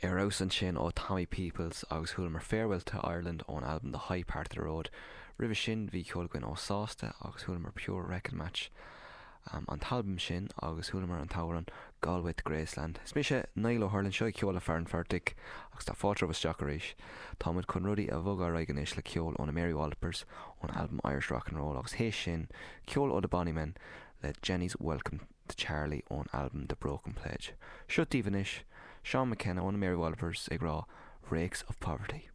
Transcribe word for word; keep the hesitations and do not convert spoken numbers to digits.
Ar fheabhas ansin ó Tommy Peoples agus chualamar Farewell to Ireland ón albam The High Part of the Road. Roimhe sin bhí ceol againn ó Sásta agus chualamar Pure Record Match um, an t-albam sin agus chualamar an t-amhrán Galway to Graceland. Is mise Niall Ó hUrlain seo ceol le Fear an Phortaigh agus tá fáilte isteach arís. Táimid chun rudaí a bhogadh ar aghaidh anois le ceol ó na Mary Wallopers ón album Irish Rock and Roll agus théis sin ceol ó The Bonnymen le Jenny's Welcome to Charlie ón album The Broken Pledge. Seo daoibh anois, Seán McKenna ó na Mary Wallopers ag rá Rakes of Poverty.